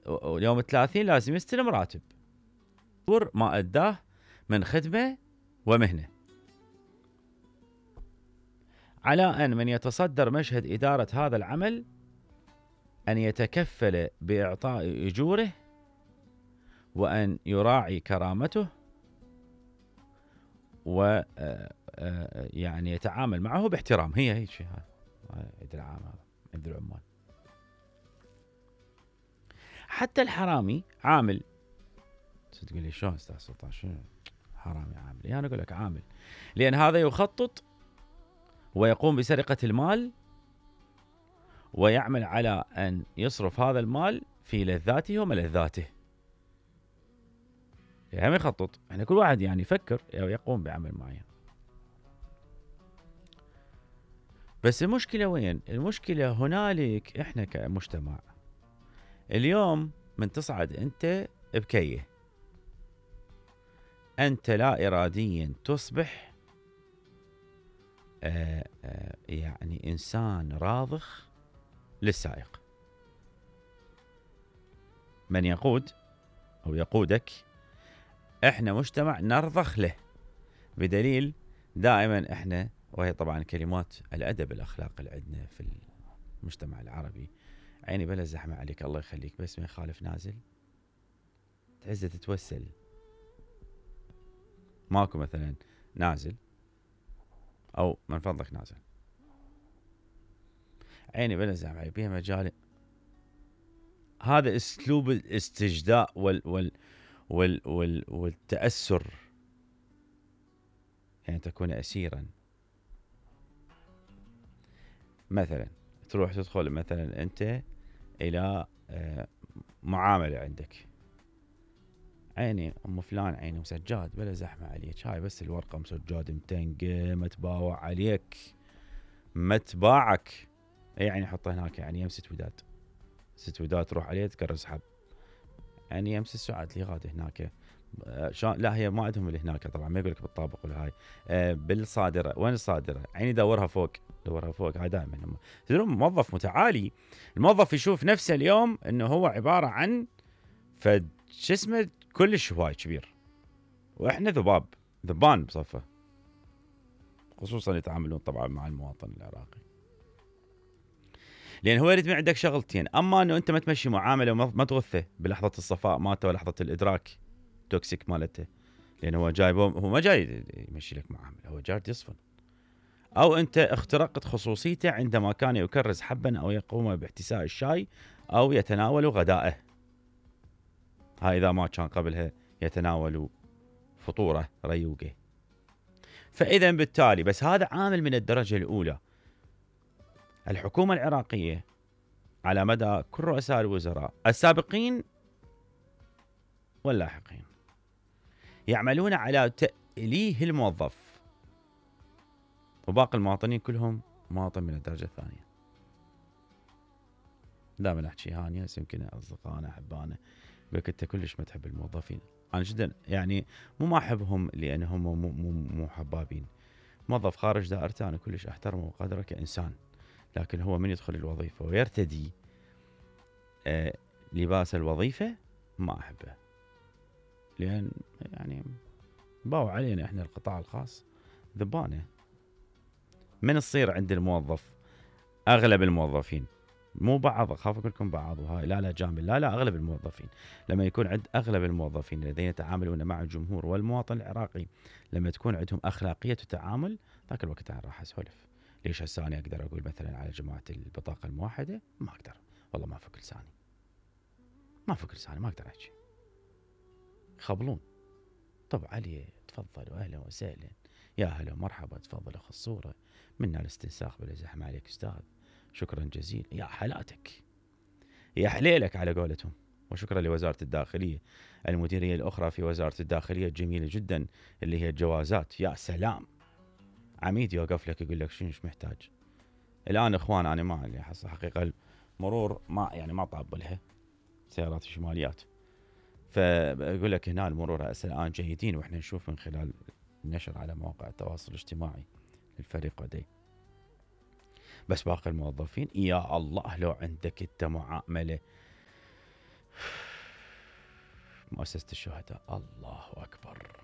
ويوم 30 لازم يستلم راتب ما أداه من خدمة ومهنة. على أن من يتصدر مشهد إدارة هذا العمل أن يتكفل بإعطاء أجوره، وأن يراعي كرامته، و يعني يتعامل معه باحترام. هي شيء هذا العام، هذا عند العمال. حتى الحرامي عامل. تقول لي شلون استاذ سلطان شنو حرامي عامل؟ يعني انا اقول لك عامل، لان هذا يخطط ويقوم بسرقة المال ويعمل على ان يصرف هذا المال في لذاته وملذاته. يعني يخطط، يعني كل واحد يعني يفكر او يقوم بعمل معين. بس المشكلة وين؟ المشكلة هنالك احنا كمجتمع اليوم من تصعد انت بكيه، انت لا اراديا تصبح يعني انسان راضخ للسائق. من يقود او يقودك احنا مجتمع نرضخ له، بدليل دائما احنا، وهي طبعا كلمات الادب الاخلاق اللي عندنا في المجتمع العربي، عيني بلا زحمه عليك الله يخليك، بس ما يخالف نازل تعزه تتوسل. ماكو مثلا نازل او من فضلك نازل، عيني بلا زحمه عليك بيها مجال. هذا اسلوب الاستجداء والتأسر، يعني تكون أسيرا. مثلا تروح تدخل مثلا أنت إلى معاملة عندك، عيني أم فلان عيني مسجاد بلا زحمة عليك، هاي بس الورقة مسجاد متنقة ما تباوع عليك ما تباعك، يعني حطه هناك، يعني يم ست وداد تروح عليه تكرس حب، يعني يمس السعاد لي غاد هناك. لا هي ما عندهم اللي هناك طبعا، ما يقول لك بالطابق ولا هاي بالصادره. وين الصادره؟ عيني دورها فوق هاي دائما. هم تدرون موظف متعالي، الموظف يشوف نفسه اليوم انه هو عباره عن فد شو اسمه كلش هواي كبير، واحنا ذبان بصفه، خصوصا يتعاملون طبعا مع المواطن العراقي، لان هو يريد من عندك شغلتين: اما انه انت ما تمشي معامله وما تغثه بلحظه الصفاء مالته ولحظه الادراك توكسيك مالته، لان هو جاي هو ما جاي يمشي لك معامله، هو جاي يصفن، او انت اخترقت خصوصيته عندما كان يكرس حبا او يقوم باحتساء الشاي او يتناول غدائه. هاي اذا ما كان قبلها يتناول فطوره ريوقه. فاذا بالتالي بس هذا عامل من الدرجه الاولى. الحكومه العراقيه على مدى كل رؤساء الوزراء السابقين واللاحقين يعملون على تأليه الموظف، وباقي المواطنين كلهم مواطن من الدرجة الثانية. دائما احكي هاني يمكن اصدقائنا احبائنا يقولك انت كلش ما تحب الموظفين. انا جدا يعني مو ما احبهم لانهم مو حبابين. موظف خارج دائرته انا كلش احترمه وقدره كانسان، لكن هو من يدخل الوظيفه ويرتدي لباس الوظيفه ما احبه، لان يعني باو علينا احنا القطاع الخاص ذبانه. من تصير عند الموظف اغلب الموظفين، مو بعض، اخاف اقول لكم بعض وهاي لا جامل، لا اغلب الموظفين، لما يكون عند اغلب الموظفين الذين يتعاملون مع الجمهور والمواطن العراقي لما تكون عندهم اخلاقيه التعامل، ذاك الوقت انا راح اسولف. ليش هسه انا اقدر اقول مثلا على جماعه البطاقه الموحده؟ ما اقدر، والله ما فك لساني، ما اقدر احكي. يخبلون. طب علي تفضل واهلا وسهلا، يا هلا ومرحبا، تفضل اخذ الصوره، منا الاستنساخ بلا زحمه عليك استاذ، شكرا جزيلا، يا حلاتك، يا حليلك على قولتهم. وشكرا لوزاره الداخليه، المديريه الاخرى في وزاره الداخليه الجميله جدا اللي هي الجوازات، يا سلام، عميد يوقف لك يقول لك شنو محتاج. الان اخوان انا ما اللي حقيقه المرور ما طاب لها سيارات الشماليات، فبقول لك هنا المرور هسه الان جيدين، واحنا نشوف من خلال النشر على مواقع التواصل الاجتماعي للفريق ودي. بس باقي الموظفين يا الله لو عندك انت معامله مؤسسة الشهداء الله أكبر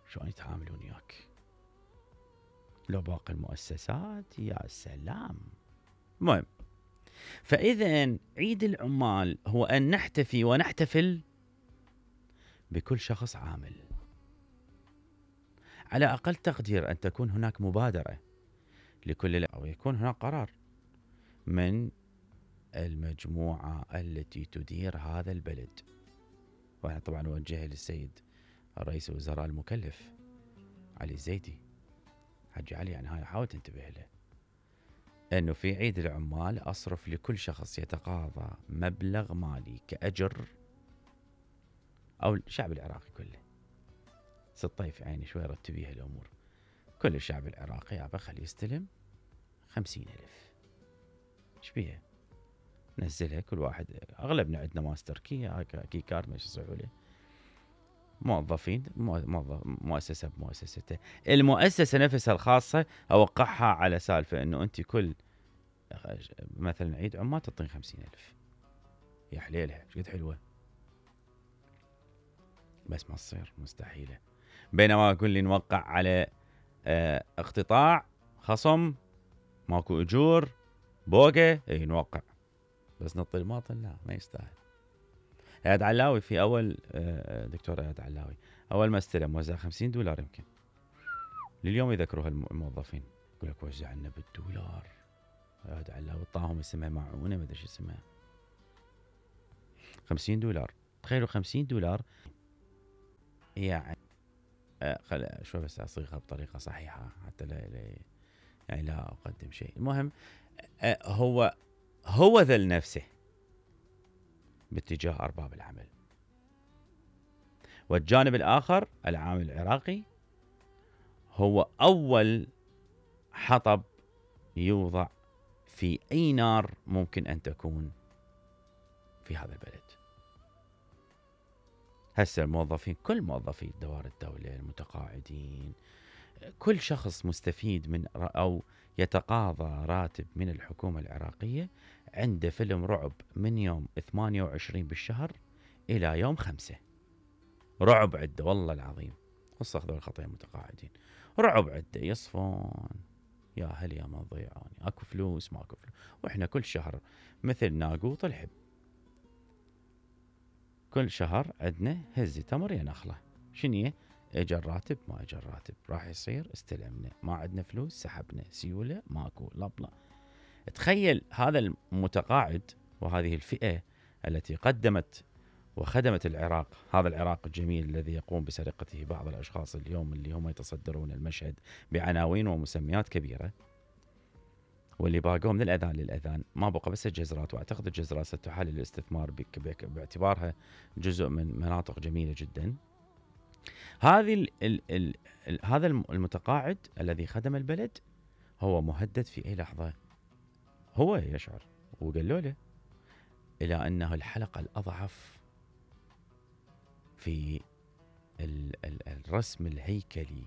شلون يتعاملون وياك. لو باقي المؤسسات يا سلام. المهم، فإذا عيد العمال هو أن نحتفي ونحتفل بكل شخص عامل. على أقل تقدير أن تكون هناك مبادرة لكل أو يكون هناك قرار من المجموعة التي تدير هذا البلد. وأنا طبعا أوجه للسيد رئيس الوزراء المكلف علي الزيدي، حجي علي، يعني هاي حاول تنتبه له، أنه في عيد العمال أصرف لكل شخص يتقاضى مبلغ مالي كأجر، أو الشعب العراقي كله. الطيف يعني شوي رتبيها الأمور. كل الشعب العراقي يابا خليه يستلم 50,000. ايش بيها؟ نزلها كل واحد. أغلبنا عندنا ماستر كي كارد، ما يصيحوا له. موظفين، مؤسسة بمؤسسته. المؤسسة نفسها الخاصة أوقعها على سالفة أنه أنت كل مثلا عيد عمال تعطين 50,000. يا حليلها شقد حلوة، بس ما تصير، مستحيلة. بينما أقول لي نوقع على اقتطاع، خصم، ماكو أجور، بوقة، اي نوقع، بس نطي المواطن لا، ما يستاهل. اياد علاوي في اول، دكتور اياد علاوي اول ما استلم وزع $50 يمكن. لليوم يذكروها الموظفين، يقول لك وزع لنا بالدولار. اياد علاوي طاهم اسمها معونه، ما ادري شو اسمها. $50. تخيلوا $50 يعني شوي بس اصيغها بطريقه صحيحه حتى لا يعني لا اقدم شيء. المهم هو ذل نفسه باتجاه أرباب العمل. والجانب الآخر العامل العراقي هو أول حطب يوضع في أي نار ممكن أن تكون في هذا البلد. هسه الموظفين، كل موظفي دوائر الدولة، المتقاعدين، كل شخص مستفيد من أو يتقاضى راتب من الحكومة العراقية عنده فيلم رعب من يوم 28 بالشهر إلى يوم 5. رعب عده والله العظيم، خصوصا هذول الخطية متقاعدين، رعب عده يصفون يا هل يا ما ضيعوني، اكو فلوس ماكو فلوس. واحنا كل شهر مثل ناقوط الحب، كل شهر عندنا هزي تمر يا نخله. شنية؟ اجى الراتب ما اجى الراتب، راح يصير استلمنا، ما عندنا فلوس سحبنا، سيوله ماكو لبلا. تخيل هذا المتقاعد وهذه الفئة التي قدمت وخدمت العراق، هذا العراق الجميل الذي يقوم بسرقته بعض الأشخاص اليوم اللي هم يتصدرون المشهد بعناوين ومسميات كبيرة، واللي باقوا من الأذان للأذان ما بقى بس الجزرات. وأعتقد الجزرات ستحل الاستثمار باعتبارها جزء من مناطق جميلة جدا. هذا المتقاعد الذي خدم البلد هو مهدد في أي لحظة. هو يشعر وقالوا له إلى أنه الحلقة الأضعف في الرسم الهيكلي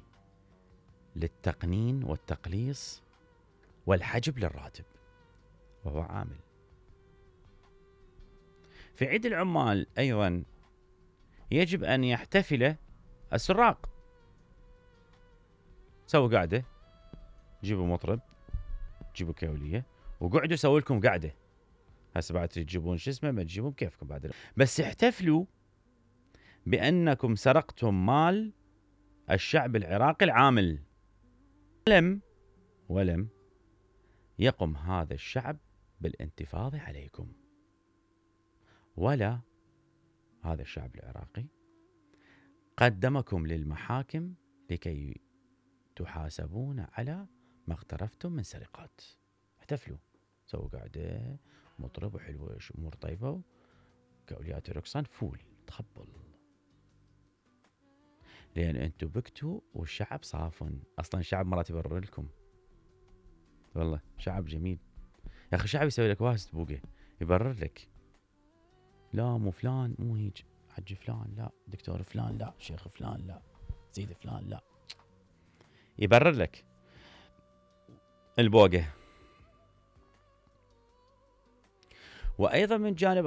للتقنين والتقليص والحجب للراتب، وهو عامل. في عيد العمال أيضا يجب أن يحتفل السراق. سووا قاعدة، جيبوا مطرب، جيبوا كولية، وقعدوا سووا لكم قاعدة. هسه بعد تجيبون شو اسمه، ما تجيبون كيفكم بعد، بس احتفلوا بأنكم سرقتم مال الشعب العراقي العامل. ولم يقم هذا الشعب بالانتفاضة عليكم، ولا هذا الشعب العراقي قدمكم للمحاكم لكي تحاسبون على ما اقترفتم من سرقات. احتفلوا، سووا قاعدة، مطرب وحلوة، أمور طيبة، كأوليات رقصان، فول تخبل. لأن أنتوا بكتوا والشعب صافن. أصلا الشعب مرات يبرر لكم، والله شعب جميل يا أخي. شعب يسوي لك واسد بوقه، يبرر لك، لا مو فلان، مو هيج حج فلان، لا دكتور فلان، لا شيخ فلان، لا سيد فلان، لا، يبرر لك البوقه. وأيضا من جانب